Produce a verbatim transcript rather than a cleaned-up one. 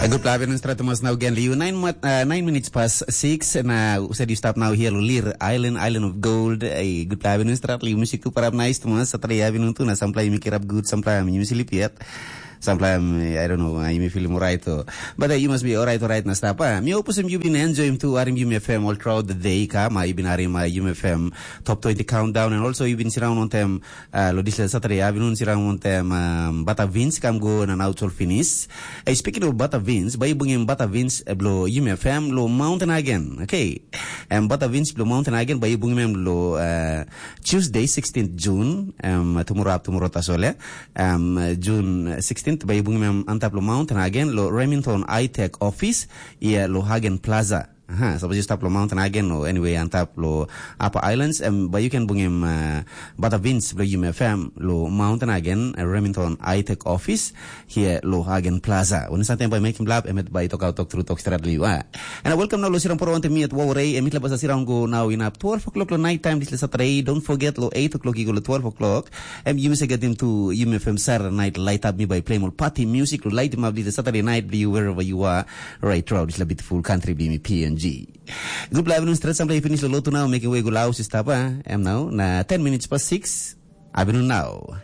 Good afternoon, Stratamas. Now again, you nine, mat- uh, nine minutes past six, and uh, said you stop now here, Lir Island, Island of Gold. Hey, good afternoon, Strat. You music tu parap nice, Thomas. Saturday afternoon tu na samplai you make it up good, samplai you sleep yet. Samplai I don't know, uh, you may feel more right. Or, but uh, you must be all right, all right, na stop. Uh. Mi hope some you been enjoying to Arim Yumi F M all throughout the day. Kama, you been Arim uh, Yumi F M top twenty countdown, and also you been surround on them uh, lo dispela Saturday afternoon sirang wantem um, bata Vince kam go na now sol finis. Hey, speaking of bata Vince, bai bungim bata Vince eh, blo Yumi F M lo Mountain Hagen. Okay. Um, bata Vince blo Mountain Hagen bai bungim em lo uh, Tuesday sixteenth June, um, tomorrow up tomorrow tasol ya. Um, June sixteenth bai bungim em antap lo Mountain Hagen lo Remington Itech Office, ia lo Hagen Plaza. Aha, suppose you stop lo Mountain Hagen or anyway on top lo Upper Islands, um, but you can bring him uh, bata Vince blo Yumi F M lo Mountain Hagen, uh, Remington Itech Office here lo Hagen Plaza. When something by making blab, emet by talk out, talk through, talk straight liu. Ah. And I welcome now lo sirang poro ante mi at Wawarei, and mitla basa sirang go now in up twelve o'clock lo night time this Saturday. Don't forget lo eight o'clock you go lo twelve o'clock. And you must get him to Yumi F M Saturday night light up me by playing all party music lo light him up this Saturday night you wherever you are. Right throughout this beautiful country bimi P N G. Good luck, everyone. Straight sample finish lo lotu now, making way go loud, sister pa. Em now, na ten minutes past six. Abinu now.